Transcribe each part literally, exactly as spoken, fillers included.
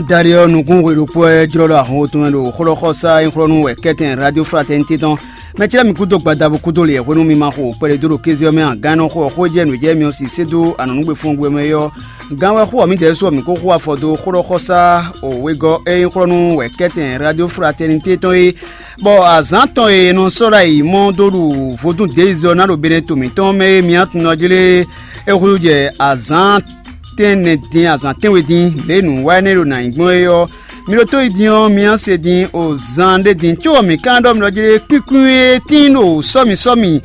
Dali ɔ́, nukún hwe ɖokpó wɛ jlɔ́ ɖo ahɔn tɔn mɛ ɖo xlɔ́xɔsá e xlɔ́ nú wɛ kɛ́tɛn Radio Fraternité tɔn. Mɛ ce lɛ́ɛ mi kúdó gbadabo kúdó lě hwenu mi ma xo kpɛɖé dó ɖo kéze ɔ́ mɛ a? Gán nɔ xo ɔ́, xó e jɛ nǔ jɛ mi ɔ́ si sé dó anɔ̌nugbe fɔ́n gbe mɛ é ɔ́, gán wɛ xó ɔ́ mǐdɛɛ su ɔ́, mǐ ko xo afɔ dó xlɔ́xɔsá wegɔ́ e nyí xlɔ́ nú wɛ kɛ́tɛn Radio Fraternité tɔn é. Bɔ azǎn tɔn e è nɔ sɔ́ ɖo ayǐ mɔ dó ɖu vodún děyizɔ ná ɖo Benɛto mǐtɔn mɛ e mǐ tunwun ɔ́ jlé é húzú jɛ azǎn tɛ́nnɛ din, azǎn tɛ́nwe din, lě e nǔ wa énɛ́ ɖo nǎ nyí gbɔn é ɔ́, mi ɖótó yi din ɔ́, mi ná se din o zan ɖé din, có mǐ ka ɖɔ mi ɖɔ jlé kwíkwín e tíin ɖo sɔ́mi sɔ́mi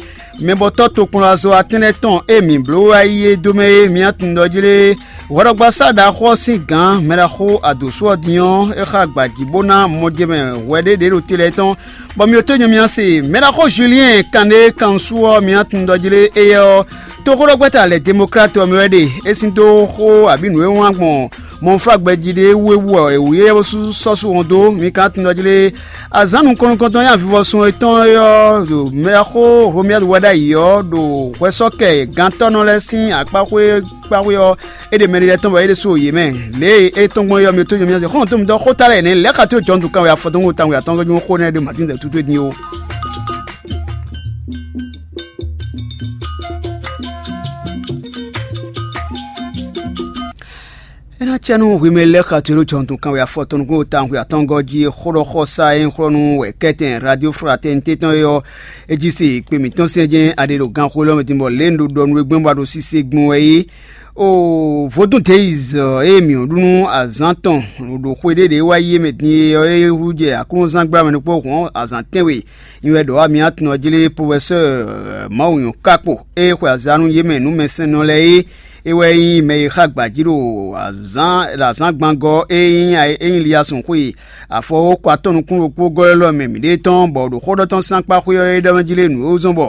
mɛbɔtɔ́ tokpɔnlazɔ́watɛ́n lɛ́ɛ tɔn e mǐ bló wá yi é dó mɛ é, mi ná tunwun ɖɔ jlé hwɛɖɔgbasá ɖaxó ɔ́ sín gǎn mɛɖaxó adǒsú ɔ́ din ɔ́, é xa gbǎjí bó ná mɔjɛmɛ hwɛ ɖé ɖě ɖo te lɛ́ɛ tɔn, bɔ mi ɖótó nyɔ mi ná se mɛɖaxó Julien kanɖé kansu ɔ́, mi ná tunwun ɖɔ jlé éyɛ́ ɔ́, toxóɖɔgbɛ́ta lɛ̌ Demokláti ɔ́ mɛ wɛ ɖe. É sín dó xó abǐ nǔ e wlán gbɔn mɔnflágbɛjí ɖé wú é wú ɔ́, è wǔ yɛ́ bó sú sɔ́ sú wɔn dó. Mi ka tunwun ɖɔ jlé azǎn nukɔn nukɔntɔn nyi avivɔsun etɔn é ɔ́, ɖo mɛɖaxó Romiɛ́li wɛ ɖ'ayǐ ɔ́, ɖo hwɛsɔ́kɛ gantɔ́nɔ lɛ́ɛ sín akpáxwé kpáxwé ɔ́, é ɖe mɛɖé lɛ́ɛ tɔn bɔ é ɖésú yě mɛ. Lě e é tɔ́n gbɔn é ɔ́, mi tó nyɔ mí ɔ́ se xɔ́ntɔn mitɔn xó ta lɛ́ɛ nɛ́ lɛ̌ xa tó jɔn dǔkan wɛ afɔtɔn wó tawun wɛ atɔ́ nyɔ́ xó nɛ́ ɖé Matín zɛ tútú é din ó. É ná cɛ nú hwi mɛ lɛ́ɛ xa tó ɖó jɔntun kanwe afɔtɔn nukún tawun xwe atɔ́ngɔ́ jí xó ɖɔ xɔsa e nyí xlɔ́ nú wɛ kɛ́tɛn Radio Fraternité tɔn é ɔ́, é jí se kpe mǐtɔn sɛn jɛ́n a ɖe ɖo ganxó élɔ́ mɛ din bɔ lě un ɖo ɖɔ nú we gbɔn bɔ a ɖo sise gbɔn wɛ é. O vodún Days ɔ́, ée mǐ ɖu nú azǎn tɔn ɖo xwe ɖé ɖě wá yi é mɛ din é ɔ́, é hú jɛ aklúnɔzán gbla mɛ ɖokpó hɔn azǎn tɛ́nwe. Nyi wɛ ɖɔ wá mi atun ɔ́ jlé Profɛsɛ́ɛ Mawu nyɔ̌ kákpo e xwe azǎn nú yě mɛ nǔmɛsɛnnɔ lɛ́ɛ é. É wɛ nyí mɛ e xa gbǎ jí ɖo azǎn ɖo azǎngbangɔ́ e nyí e nyí Liyasun xwe afɔwókɔ atɔ́ nukún ɖokpó gɔ́ élɔ́ mɛ mǐɖée tɔn, bɔ ɖo xó ɖɔ tɔn sín akpá xwé ɔ́ é ɖɔ mɛ jí lé nǔ e wú zɔ́n bɔ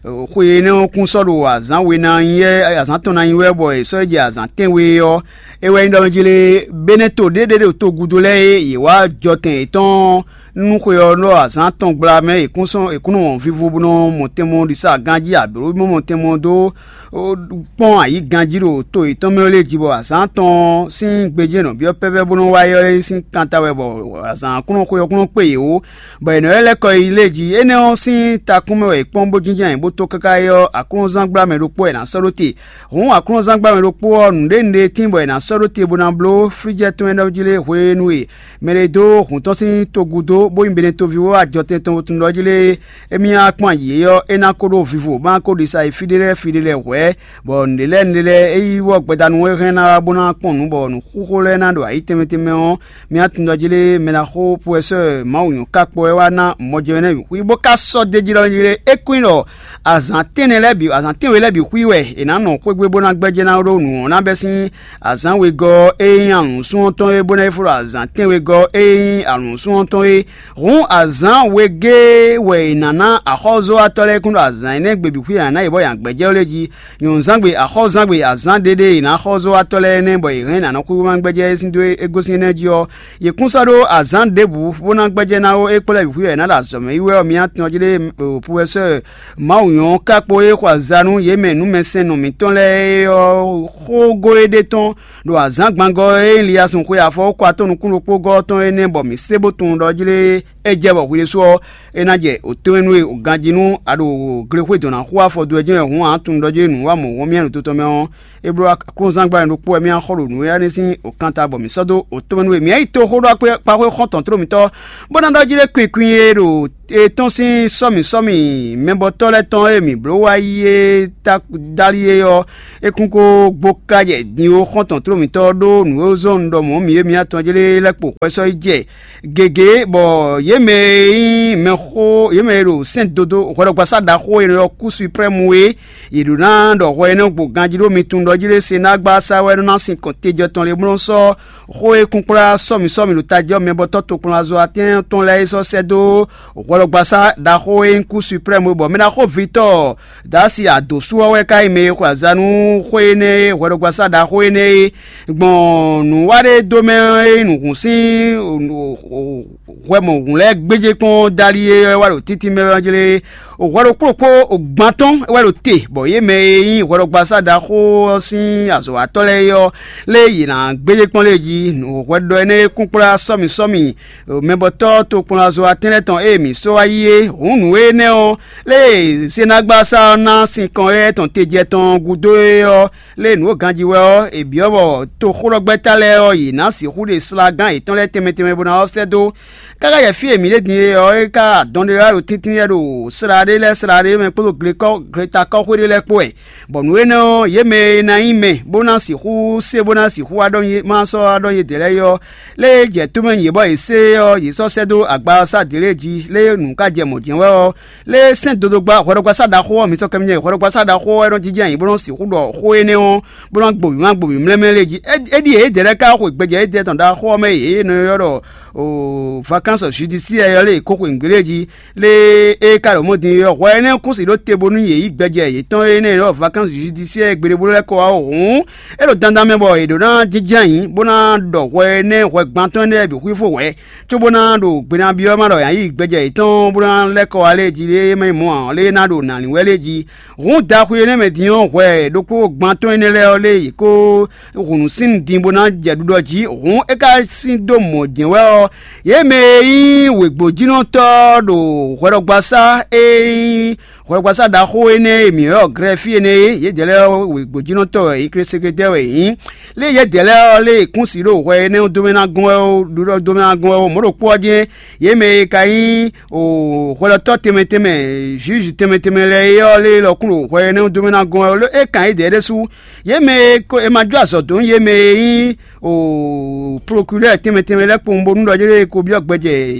xwe énɛ́ ɔ́ kún sɔ́ ɖo azǎn we ná nyí wɛ, azǎn tɔn ná nyí wɛ, bɔ è sɔ́ yi jɛ azǎn tɛ́nwe ɔ́, é wɛ nyí ɖɔ mɛ jí lé Benɛto ɖé ɖé ɖo togúdo lɛ́ɛ e yě wá jɔtɛn yětɔn nú xwe ɔ́ ɖɔ azǎn tɔn gbla mɛ è kún sɔ́ è kún nɔ wɔn vivo bó nɔ mɔ tɛnmɔ ɖisa ganjí abǐ bó mɔ tɛnmɔ dó kpɔ́n ayǐ ganjí ɖo to yětɔn mɛ lɛ́ɛ jí, bɔ azǎn tɔn sín gbejɛ́nɔ byɔ́ pɛ́pɛ́ bó nɔ wá yɔ́ é sín kanta wɛ, bɔ azǎn kún nɔ xwe ɔ́ kún nɔ kpé yě wú, bɔ è nɔ lɛ́ lɛ́ kɔ yi lé jí. Énɛ́ ɔ́ sín takún mɛ wɛ è kpɔ́n bó jínjɔ́n ayǐ bó tó káká é ɔ́, aklúnɔzán gbla mɛ ɖokpó wɛ è nǎ sɔ́ ɖó te. Hǔn aklúnɔzán gbla mɛ ɖokpó ɔ́, nǔɖé nǔɖé tíin bɔ è nǎ sɔ́ ɖó te bó ná bló flíjɛ́ tɔn e nɔ jí lé hwenu e mɛ ɖé dó hǔn tɔn sín togun dó, bó nyí Benɛtoví wó wá jɔtɛn tɔn wuntun ɖɔ jí lé émí wá kpɔ́n ayǐ é ɔ́, é ná ko ɖó vivo, bó ná ko ɖisa yi fí ɖé lɛ́ɛ fí ɖé lɛ́ɛ hwɛ̌, bɔ nǔɖé lɛ́ɛ nǔɖé lɛ́ɛ é yí wɔ gbɛdanu e hɛn ná wá bó ná kpɔ́n nǔ, bɔ nǔxúxó lɛ́ɛ ná ɖo ayǐ tɛnmɛ tɛnmɛ ɔ́, mi wá tunwun ɖɔ jí lé mɛ ná xó Profɛsɛ́ɛ Mawu nyɔ̌ ká kpɔ wɛ wá ná mɔjɛmɛ nɛ́ xwí bó ká sɔ́ d'é jí ɖɔ jí lé é kún nyí ɖɔ azǎn tɛ́nnɛ lɛ́ɛ bǐ, azǎn tɛ́nwe lɛ́ɛ bǐ xwí wɛ è nǎ nɔ xwé gbe bó ná gbɛ́jɛ́ ná ɖó nǔ ɔ́ ná bɛ́ sín azǎn wegɔ́ e nyí alǔnsun ɔ́ tɔn é, bó ná yi fó ɖo azǎn tɛ́nwegɔ́ e nyí alǔnsun ɔ́ tɔn é. Hǔn azǎn wegé wɛ è nǎ ná axɔ́zɔ́watɔ́ lɛ́ɛ kún ɖo azǎn énɛ́ gbe bǐ xwí a nǎ yě bɔ yě ná gbɛ́jɛ́ wú lé jí. Nyɔ̌nuzángbe axɔ́zángbe azǎn ɖéɖé è nǎ xɔ́zɔ́watɔ́ lɛ́ɛ nɛ́ bɔ yě hɛn nǎ nɔ xwíxwímá gbɛ́jɛ́ é sín dó é gosín énɛ́ jí ɔ́, yě kún sɔ́ ɖó azǎn ɖěbǔ bó ná gbɛ́jɛ́ ná ó é kplɔ́ bǐ xwí wɛ è nǎ ɖo azɔ̌ mɛ yí wɛ ɔ́, mi ná tunwun jí ɖé Profɛsɛ́ɛ Mawu nyɔ́ ká kpó é xɔ aza nú yě mɛ nǔmɛsɛnnɔ mǐtɔn lɛ́ɛ é ɔ́ xógó é ɖe tɔn ɖo azǎngbangɔ́ e nyí Liyasun xwe afɔwókɔ atɔ́ nukún ɖokpó gɔ́ ɔ́ tɔn énɛ́ bɔ mǐ sé bó tunwun ɖɔ jí lé é jɛ bɔ hwi ɖésú ɔ́, é ná jɛ òtɛ́nwénú e ganjí nú a ɖo glexwé dɔn ná xú afɔ dó wɛ jɛ́n wɛ hǔn ǎ tunwun ɖɔ jí nǔ wa mɔ̌ wɔn mì a ɖo to tɔn mɛ ɔ́, é bló aklúnɔzán gbla ɖokpó wɛ mì a xɔ ɖo nǔ e ná sín òkanta bɔ mǐ sɔ́ dó òtɔ́nwénú e mǐ yi toxó ɖó kpaxwé xɔ́ntɔn tló mǐtɔn, bó ná ɖɔ jí lé kwinkwin e ɖo e tɔ́n sín sɔ́mǐ sɔ́mǐ mɛbɔtɔ́ lɛ́ɛ tɔn e mǐ bló wá yi é ta dali é ɔ́, é kún ko gbó ká jɛ din ó xɔ́ntɔn tló mǐtɔn ɖó nǔ e zɔ́n un ɖɔ mɔ̌ mǐ e mǐ atɔn jlé lɛ́ kpo xwɛ sɔ́ yi jɛ gěgé, bɔ yě mɛ e nyí mɛxó, yě mɛ e ɖo sɛ́n dodó hwɛɖɔgbasá ɖaxó e nɔ ylɔ́ kú suprɛ́mu é, yě ɖó ná ɖɔ hwɛ énɛ́ gbo ganjí ɖó mi tunwun ɖɔ jí ɖé se ná gbá sá wɛ nɔ ná sin kɔn tejɛ tɔn lě bó nɔ́ sɔ́ xó e kún kplá sɔ́mi sɔ́mi ɖo tají ɔ́ mɛ bɔ tɔ́ tokplɔnzɔ́ atɛ́n tɔn lɛ́ɛ é sɔ́ sɛ́ dó hwɛɖɔgbasá ɖaxó e nyí kú suprɛ́mu é, bɔ mɛ ɖaxó Vitɔ́ɔ Dasi adǒsu ɔ́ wɛ ka nyí mɛ e xwe aza nú xó énɛ́ e hwɛɖɔgbasá ɖaxó énɛ́ e gbɔn nǔwaɖédomɛ e nyí nǔhún sín hwɛ mɔ̌hun lɛ́ɛ. gbéjé kpɔ́n dali e wá ɖo títí mɛ ɔ́ jlé. Hwɛ ɖokpó ɖokpó gban tɔn wɛ ɖo te, bɔ yě mɛ e nyí hwɛɖɔgbasá ɖaxó ɔ́ sín azɔ̌watɔ́ lɛ́ɛ é ɔ́, lé yě ná gbéjé kpɔ́n lé jí. Hwɛɖɔ énɛ́ e kún kplá sɔ́mi sɔ́mi mɛbɔtɔ́ tokpɔnlazɔ́watɛ́n lɛ́ɛ tɔn e mǐ sɔ́ wá yí é. Hǔn nǔ énɛ́ ɔ́, lé Senagbasa ɔ́ ná sinkɔn éyɛ́ tɔn tejɛ tɔn gúdo é ɔ́, lé nǔ e ganjí wɛ ɔ́, è byɔ́ bɔ toxóɖɔgbɛ́ta lɛ́ɛ ɔ́, yě ná sixú ɖe slagán yětɔn lɛ́ɛ tɛnmɛ tɛnmɛ bó ná ɔ́ sɛ́ dó. Káká jɛ fí e mǐ ɖe din é ɔ́, é ká dɔn ɖé lɛ́ɛ ɖo tíntín lɛ́ɛ ɖo slá ɖé lɛ́ɛ slá ɖé mɛ kpódó gletakɔ́xwé ɖé lɛ́ɛ kpó wɛ, bɔ nǔ énɛ́ ɔ́, yě mɛ e ná nyí mɛ bó ná sixú se bó ná sixú wá ɖɔ ma sɔ́ wá ɖɔ yědɛɛ lɛ́ɛ é ɔ́, lé jɛ tó mɛ nyi yě bɔ yě se ɔ́, yě sɔ́ sɛ́ dó agba ɔ́ sá dě lée jí, lé nǔ ka jɛ mɔ̌ jɛ́n wɛ ɔ́, lé sɛ́n dodogba hwɛɖɔgbasá ɖaxó ɔ́, mi sɔ́ kɛ mi jɛ hwɛɖɔgbasá ɖaxó ɔ́, é nɔ jínjɛ́n ayǐ bó nɔ́ sixú ɖɔ xó énɛ́ ɔ́, bó ná gboví má gboví mlɛ́mlɛ́ lé jí. É ɖíe yědɛɛ lɛ́ɛ ka xwe gbɛjɛ édɛɛ tɔn ɖaxó ɔ́ mɛ yě nɔ ylɔ́ ɖɔ Vacances judiciaires ɔ́ lé kó xwe nǔgbé lé jí, lé é ka ɖo mɔ̌ din é ɔ́, hwɛ énɛ́ kún si ɖó te bónú yě yí gbɛjɛ yětɔn énɛ́ e nyí Vacances judiciaires gbeɖé bó lɛ́ kɔ wá ó hǔn, é ɖo dandan mɛ bɔ è ɖǒ ná jínjɛ́n ayǐ bó ná ɖɔ hwɛ énɛ́ hwɛ gbantɔ́ énɛ́ lɛ́ɛ bǐ xwífó wɛ̌, cóbó ná ɖo gbe ná byɔ́ má ɖɔ yǎ yí gbɛjɛ yětɔn bó ná lɛ́ kɔ wá lé jí lé é má nyí mɔ̌ ǎ, lé é ná ɖo nǎlin wɛ lé jí. Hǔn daxwi énɛ́ mɛ din ɔ́, hwɛ ɖokpó gbantɔ́ énɛ́ lɛ́ɛ ɔ́ lé yě kó hǔn nǔ sín din bó ná jɛ ɖuɖɔ jí. Hǔn é ka sín dó mɔ̌ jɛ́n wɛ ɔ́, yě mɛ e nyí wěgbójínɔtɔ́ ɖo hwɛɖɔgbasá e nyí hwɛɖɔgbasá ɖaxó énɛ́ e mǐ ylɔ́ Glɛ́ɛ fí énɛ́ é, yědɛɛ lɛ́ɛ ɔ́, wěgbójínɔtɔ́ wɛ yě, klɛ́sɛ́gɛ́dɛ́ wɛ yě nyí. Lé yědɛɛ lɛ́ɛ ɔ́, lé è kún si ɖo hwɛ énɛ́ ɔ́ dó mɛ ná gɔ́n wɛ ó, ɖuɖɔ dó mɛ ná gɔ́n wɛ ó, mɔ̌ ɖokpó ɔ́ jɛ́n yě mɛ e ka nyí hwɛɖɔtɔ́ tɛnmɛ tɛnmɛ, jǔjǔ tɛnmɛ tɛnmɛ lɛ́ɛ é ɔ́, lé lɔ kún ɖo hwɛ énɛ́ ɔ́ dó mɛ ná gɔ́n wɛ ó, é kan yědɛɛ ɖésú. Yě mɛ e ko è ma jó azɔ̌ dó nú yě mɛ e nyí o procureur tɛnmɛ tɛnmɛ lɛ́ɛ kpowun bónú ɖɔ yé ko byɔ́ gbɛjɛ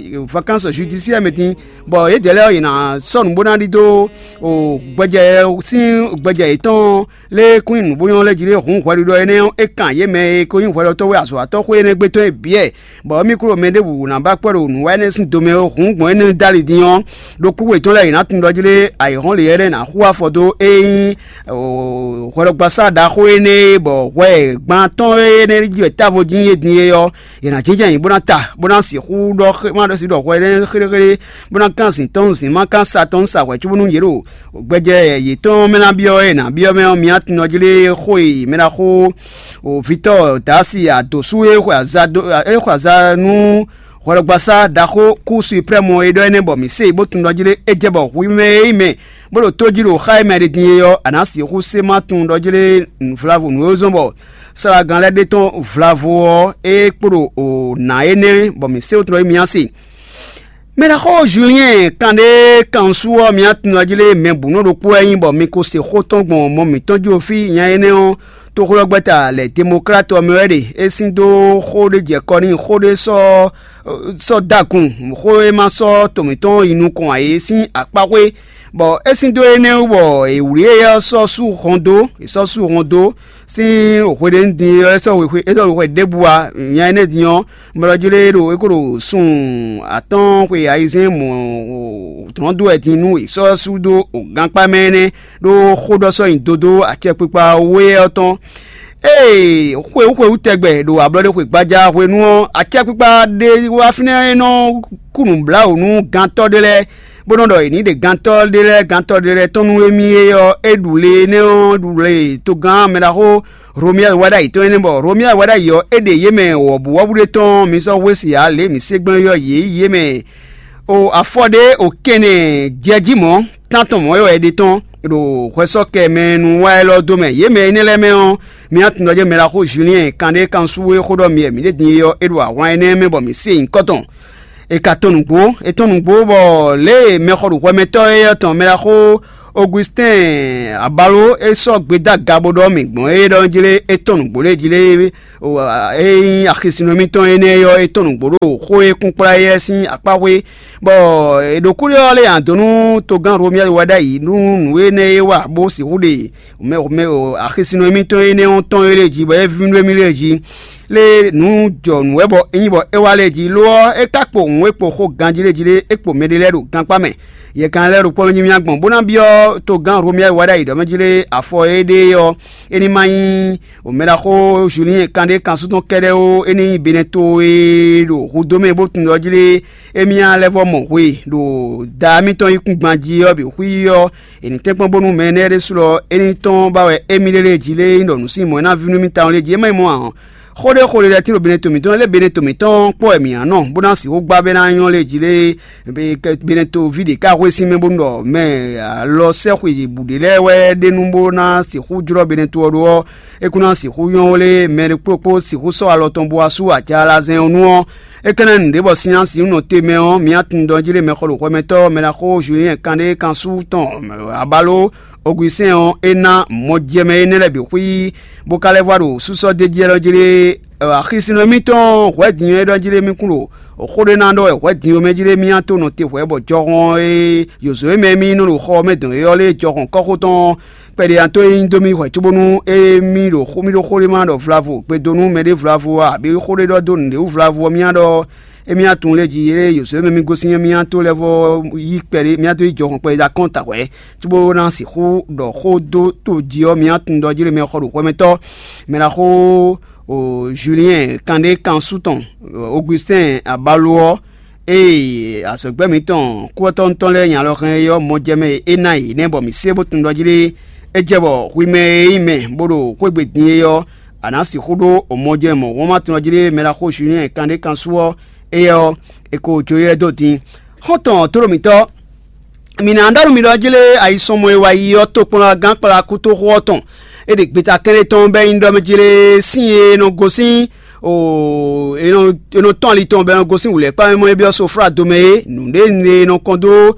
vacances judiciaire mɛ din, bɔ yědɛɛ lɛ́ɛ ɔ́, yě ná sɔ́ nǔ bó ná ɖidó o gbɛjɛ sín gbɛjɛ yětɔn lé kún nyi nǔ bó nyɔ́ lɛ́ jí lé hǔn hwɛɖiɖɔ énɛ́ ɔ́, é kan yě mɛ e ko nyí hwɛɖɔtɔ́ wɛ azɔ̌watɔ́ xwé énɛ́ gbe tɔn é bǐ wɛ. Bɔ émí kúɖo mɛ ɖěbǔ ná ba kpɔ́ ɖo nǔ wa énɛ́ sín domɛ ó, hǔn gbɔn énɛ́ dó ali din ɔ́, ɖokpó wětɔn lɛ́ɛ yě ná tunwun ɖɔ jí lé ayǐhɔ́n lě ɔ́ ná hu afɔ dó é nyí hwɛɖɔgbasá ɖaxó énɛ́ e bɔ hwɛ gban tɔn énɛ́ jí wɛ távo jí é din é ɔ́, yě ná jínjɔ́n ayǐ bó ná ta, bó ná sixú ɖɔ má ɖɔ sí ɖɔ hwɛ énɛ́ xéɖéxéɖé, bó ná kán zǐn tɔn zǐn má kán sa tɔn sa hwɛ̌ cóbónú yě ɖo gbɛjɛ yětɔn mɛ ná byɔ́ é ná byɔ́ mɛ ɔ́, mi ná tunwun jí lé xó e mɛ ná xó o Victor Dasi adǒsú e xwe aza dó e xwe aza nú hwɛɖɔgbasá ɖaxó kú suprɛ́mu e ɖɔ énɛ́ bɔ mǐ se bó tunwun ɖɔ jí lé é jɛ bɔ hwi mɛ e nyí mɛ bó ɖo tó jí ɖo xá e mɛ ɖe din é ɔ́, a nǎ sixú se má tunwun ɖɔ jí lé vlavo nǔ e zɔ́n bɔ slágan lɛ́ɛ ɖe tɔn vlavo ɔ́, é kpo ɖo o nǎ énɛ́ bɔ mǐ se wotun ɖɔ émí ná se. Mɛ ɖaxó Julien kanɖé kansu ɔ́, mi tunwun jí lé mɛ bǔ nɔ ɖokpó wɛ nyí bɔ mi ko se xó tɔn gbɔn mɔ mǐtɔn jí fí nya énɛ́ ɔ́, toxlɔ́gbɛ́ta lɛ Demokrat ɔ́ mɛ wɛ ɖe. É sín dó xó ɖé jɛ kɔ n'i, xó ɖé sɔ́ sɔ́ dó agun, xó e ma sɔ́ to mǐtɔn yi nukɔn ǎ é sín akpáxwé, bɔ é sín dó énɛ́ wú bɔ è wlǐ éyɛ́ ɔ́ sɔ́ sú hɔn dó, è sɔ́ sú hɔn dó sín hwe ɖé din ɔ́, é sɔ́ hwe é sɔ́ hwe ɖěbǔ ǎ. Nya énɛ́ din ɔ́, mɛ lɔ jlé ɖo é ko ɖo sun atɔ́ɔ́n xwe ayizɛ́n mɔ̌ dlɔ́n dó wɛ din nú è sɔ́ sú dó gankpá mɛ énɛ́, ɖó xó ɖɔ sɔ́ nyi dodó acɛkpikpa wé ɔ́ tɔn. Ée xwewú xwewú tɛgbɛ ɖo ablɔɖexwe gbaja hwenu ɔ́, acɛkpikpa ɖé wá fínɛ́ e nɔ kú nǔbláwǔ nú gantɔ́ ɖé lɛ́ɛ, bó nɔ́ ɖɔ è nǐ ɖe gantɔ́ ɖé lɛ́ɛ gantɔ́ ɖé lɛ́ɛ tɔn nú émí é ɔ́, é ɖu le énɛ́ ɔ́ ɖu le togán mɛɖaxó Romiɛ́li wá ɖ'ayǐ tɔn énɛ́, bɔ Romiɛ́li wá ɖ'ayǐ ɔ́, é ɖe yě mɛ wɔ̌buwɔ́bú ɖé tɔn, mi sɔ́ hwesí ǎ, lě e mǐ se gbɔn é ɔ́, yě yí yě mɛ o afɔ ɖé o kɛnɛ jɛ jí mɔ̌, tántɔn mɔ̌ wɛ è ɖe tɔn ɖo hwɛsɔ́kɛ mɛ nu wá élɔ́ dó mɛ. Yě mɛ énɛ́ lɛ́ɛ mɛ ɔ́, mi wá tunwun ɖɔ jɛ́n mɛɖaxó Julien kanɖé kansu e xó ɖɔ mi wɛ mǐ ɖe din é ɔ́, é ɖo ahwan énɛ́ mɛ bɔ mǐ se nyǐkɔ tɔn. È ka tɔn nǔgbó, è tɔn nǔgbó bɔ lě e mɛxɔɖuhwɛmɛtɔ́ éyɛ́ tɔn mɛɖaxó Augustin Abalo é sɔ́ gbe dó aga bó ɖɔ mǐ gbɔn é ɖɔ jlé é tɔn nǔgbó lě jí lé é nyí axisinɔ émítɔn énɛ́ ɔ́, é tɔn nǔgbó ɖo xó e kún kplá éyɛ́ sín akpá xwé, bɔ è ɖo kúɖé ɔ́ lé ǎ dó nú togán Romiɛ́li wɛ ɖ'ayǐ nú nǔ énɛ́ e wa bó sixú ɖe mɛ mɛ axisinɔ émítɔn énɛ́ ɔ́ tɔn é lée jí, bɔ é vínú émí lée jí. lé nǔ jɔ nǔ wɛ bɔ é nyí bɔ é wá lɛ́ɛ jí. Lo ɔ́, é ka kpo hǔn e kpo xó ganjí lé jí lé, é kpo mɛɖé lɛ́ɛ ɖo gankpá mɛ. Yɛ kan lɛ́ɛ ɖo kpɔ́ nú nyí mì agbɔn bó ná byɔ́ togán Romia e wá ɖ'ayǐ ɖɔ mɛ jí lé afɔ éɖée ɔ́, é ní ma nyí omɛɖaxó Julien kan ɖé kan sú tɔn kɛ́ɖɛ́ ó, é ní nyí Benɛto e ɖo hudó mɛ bó tunwun ɖɔ jí lé émí lɛ́ vɔ́ mɔ hwe ɖo da mitɔn yíkúngban jí ɔ́ bǐ xwí ɔ́, è nǐ tɛ́nkpɔ́n bónú mɛ énɛ́ ɖésú lɔ é ní tɔ́n ba wɛ émí lélé jí lé nyí ɖɔ nǔ sín mɔ̌ é ná ví nú mì tawun lé jí. É má nyí mɔ̌ ǎ ɔ́, xó ɖé xó ɖé lɛ́ɛ tín ɖo Benɛto mǐtɔn lé Benɛto mǐtɔn kpɔ́ wɛ mǐ ná nɔ bó ná sixú gbá bɛ́ ná nyɔ́ lé jí lé. Benɛto ví ɖě ká hwesín mɛ bónú ɖɔ mɛ alɔ sɛ́xwe bǔ ɖé lɛ́ɛ wɛ ɖe nú bó ná sixú jlɔ́ Benɛto ɔ́ ɖó ɔ́, é kún ná sixú nyɔ́ lé mɛ ɖokpó ɖokpó sixú sɔ́ alɔ tɔn bó wá sú ajalazɛn ɔ́ nu ɔ́, é ka ná nǔɖé bɔ sin ná sixú nɔ te mɛ ɔ́, mǐ á tunwun ɖɔ jí lé mɛxɔ ɖo hwɛmɛtɔ́ mɛ ná xó Julien kan ɖé kan sú tɔn abalo Augustin ɔ́, é ná mɔjɛmɛ énɛ́ lɛ́ɛ bǐ xwí, bó ka lɛ́ vɔ ɖo súsɔ́ d'é jí ɛ́ jí lé. Axisínɔ émítɔn hwɛ̌ din é ɖɔ jí lé mì kún ɖo xó ɖé ná ɖɔ wɛ hwɛ̌ din ɔ́ mɛ jí lé mì ná tó nɔ te hwɛ̌ bɔ jɔhɔn e yǒzo e mɛ mì nɔ ɖo xɔ ɔ́ mɛ dɔn é ɔ́ lé jɔhɔn kɔ́xó tɔn kpɛɖé ná tó e nyí dó mì hwɛ̌ cóbónú émí ɖo xó mì ɖó xó ɖé ma ɖɔ vlavo gbe dó nú mɛɖé vlavo ǎ, abǐ xó ɖé ɖɔ dó nǔɖé wú vlavo ɔ́ mì ná ɖɔ émí ná tunwun lé jí lé yǒzo e mɛ mì gosín ɔ́ mì ná tó lɛ́ vɔ yí kpɛɖé mì ná tó yí jɔhɔn kpɛɖé dó akɔ́nta hwɛ̌ cóbó ná sixú ɖɔ xó dó to jí ɔ́, mǐ ná tunwun ɖɔ jí ɖé mɛ xɔ ɖo hwɛmɛtɔ́ mɛ ná xó o Julien kanɖé kansu tɔn Augustin Abalo ɔ́, ée azɔ̌gbɛ́ mǐtɔn kúvɔ́tɔ́ mǐtɔn lɛ́ɛ nyi alɔ hɛn é ɔ́, mɔjɛmɛ e é ná yě nɛ́ bɔ mǐ se bó tunwun ɖɔ jí ɖé é jɛ bɔ hwi mɛ e nyí mɛ bó ɖo xwégbe din é ɔ́, a nǎ sixú ɖó mɔjɛmɛ mɔ̌hun ma tunwun ɖɔ jí ɖé mɛ ná xó Julien kanɖé kansu ɔ́, éyɛ́ ɔ́, è ko jó yɛ́ dó din. Xɔ́ntɔn tlóló mǐtɔn, mǐ ná ɖɔ nú mi ɖɔ jlé ayisɔnmɔ e wá yi ɔ́ tokpɔnlagán kplá kútóxó ɔ́ tɔn. É ɖe gbeta kɛ́ɖé tɔn bɔ é nyí ɖɔ mɛ jlé sín e nɔ gosín o e nɔ e nɔ tɔn ali tɔn bɔ é nɔ gosín wǔlɛ́kpá mɛ mɔ é byɔ́ soflá domɛ é. Nǔɖé e nɔ kɔn dó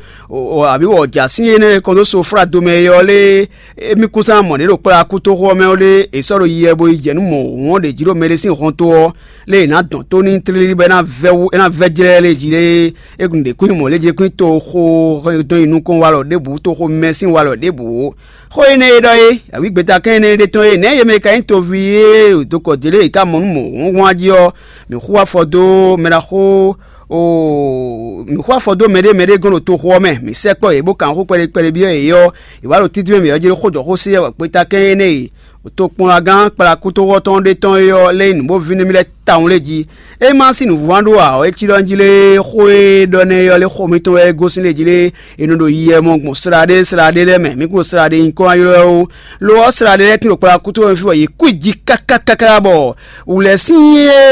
abǐ wɔ̌jǎ sín énɛ́ e kɔn dó soflá domɛ é ɔ́ lé. Émí kún sán mɔ ɖě ɖo kplá kútóxó ɔ́ mɛ ɔ́ ɖé, è sɔ́ ɖo yiɛ bo yi jɛ nú mɔ̌ hǔn ɔ́ ɖě jí ɖo mɛ ɖé sín hɔn tó ɔ́, lé è nǎ dɔn tó n'i tlílí bɔ é ná vɛ́ wú é ná vɛ́ jlɛ́ lé jí lé. É ɖě kún nyí mɔ̌ lé jí kún nyí toxo dɔn nyi nukɔn walɔ ɖěbǔ, toxo mɛ sín walɔ ɖěbǔ ó. Xó énɛ́ e ɖɔ é, awǐ gbeta kɛ́n énɛ́ e ɖe tɔn é, nɛ̌ yě mɛ ka nyí toví e ɖo dokɔ dě lé è ka mɔ nú mɔ̌ húnhún jí ɔ́, mǐ xú afɔ dó mɛ ɖaxó oo, mǐ xú afɔ dó mɛɖé mɛɖé gɔ́n ɖo toxo ɔ́ mɛ, mǐ sɛkpɔ́ yě bó kan xó kpɛɖé kpɛɖé byɔ́ yě ɔ́, yě wá ɖo títí mɛ mǐ ɔ́ jí ɖó xó jɔ xó sí wɛ gbeta kɛ́n énɛ́ e tokpɔnlagán kplakútówɔ́tɔn ɖé tɔn é ɔ́ lɛ́ nyí nǔ bó víní mì lɛ́ɛ tawun lé jí. É ma sín nǔvúán ɖó ǎ ɔ́, é cí ɖɔ njí lé xó e ɖɔ nɛ́ é ɔ́ lé xó mǐtɔn wɛ é gosín lé jí lé è nɔ ɖo yiɛ mɔ gbɔn sla ɖé sla ɖé lɛ́ɛ mɛ, mǐ kún sla ɖé nyí kɔn ylɔ́ ó. Lo ɔ́, sla ɖé lɛ́ɛ tín ɖo kplakútówɔ fí bɔ yě kú jí kákákáká bɔ wǔlɛ́ sín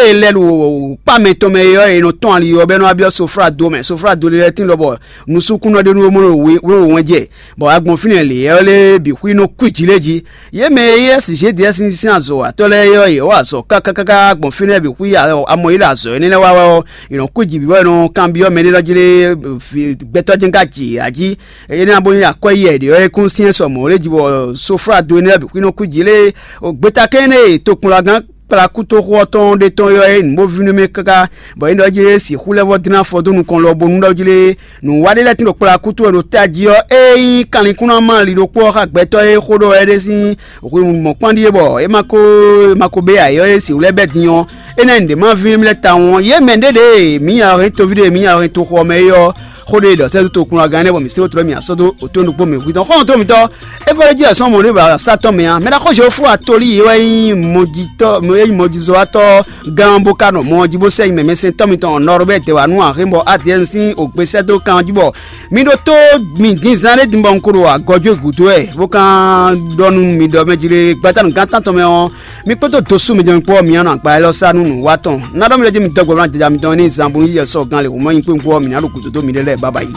e lɛ́ ɖo kpá mɛtɔn mɛ é ɔ́, è nɔ tɔ́n ali ɔ́ bɔ é nɔ wá byɔ́ soflá do mɛ. Soflá do lɛ́ɛ tín lɔ bɔ nusúkúnɔ ɖé nú mɔ ɖo wɛn wɛn jɛ, bɔ agbɔn fínɛ́ lě ɔ́ lé bǐ xwí nɔ kú jí lé jí. Yě mɛ e nyí S G D S sín azɔ̌watɔ́ lɛ́ɛ é ɔ́, yě wa azɔ̌ kákákáká gbɔn fínɛ́ bǐ xwí amɔ yi ɖo azɔ̌ énɛ́ lɛ́ɛ wa wɛ ɔ́, è nɔ kú jí bǐ bɔ è nɔ kanbyɔ́ mɛɖé lɔ jí lé, gbɛtɔ́ jɛ́n ka jǐ ǎ jí. Énɛ́ ɔ́ bó nyí akwɛ́ yɛ ɖě ɔ́, é kún syɛ́n sɔ mɔ̌ lé jí bɔ soflá do énɛ́ lɛ́ɛ bǐ xwí nɔ kú jí lé. Gbeta kɛ́n énɛ́ e tokplɔ́gán kplakútoxo ɔ́ tɔn ɖé tɔn ɔ́ é nǔ bó vínú mɛ káká, bɔ é ɖɔ jí lé sixú lɛ́ vɔ́ dlɛ́n afɔ dó nukɔn lɔ bónú ɖɔ jí lé nǔwiwa ɖé lɛ́ɛ tín ɖo kplakúto e ɖo tají ɔ́, ényí kanlin kún ná má ali ɖokpó ɔ́ xá gbɛtɔ́ e xó ɖɔ wɛ é ɖe sín hwi mɔ̌kpán ɖíe bɔ é ma ko é ma ko bé ayǐ ɔ́, é sixú lɛ́ bɛ́ din ɔ́, énɛ́ nǔɖé má vínú mì lɛ́ɛ tawun ɔ́, yě mɛ ɖé ɖě mǐ nya hɛn toví ɖé mǐ nya hɛn toxo ɔ́ mɛ é ɔ́, xó ɖé ɖɔ sɛ́ dó tokplɔ́gán énɛ́ bɔ mǐ sé wótú mì asɔ́ dó òtó nukpó mɛ hwitɔ́n xɔ́ntɔn mǐtɔn. É vɔ ɖé jí ɛsɔ́ mɔ̌ ɖé ba sá tɔn mɛ ǎ. Mɛ ɖaxó Jehofu Atolí e wɛ nyí mɔjitɔ́ e nyí mɔjizɔ́watɔ́ gán bó ka nɔ mɔ ɔ́ jí bó sɛ́ nyi mɛmɛsɛntɔ́ mitɔn nɔrɔbɛ́ dɛ̌wanu Ahémɔ Adɛ́ɛn sín ògbésɛ́dó kan jí bɔ mi ɖótó mi din zán ɖé din bɔ un ko ɖo agɔjó gǔdo wɛ bó kan ɖɔ nú mi ɖɔ mɛ jí lé gbátánu gán tántɔn mɛ ɔ́, mi kpódó dosú mi jɛ́n kpó ɔ́, mi nɔ agba élɔ́ sá nú nǔwatɔ́. Ná ɖɔ mi ɖɔ jí mi dɔ́ gbɔ ná jaja mitɔn ní zan bó ní yɛ sɔ́ gán lě hǔn mɔ nyi kpé kpó ɔ́, mi ná ɖo gǔdo dó miɖée lɛ́ɛ bábá yi.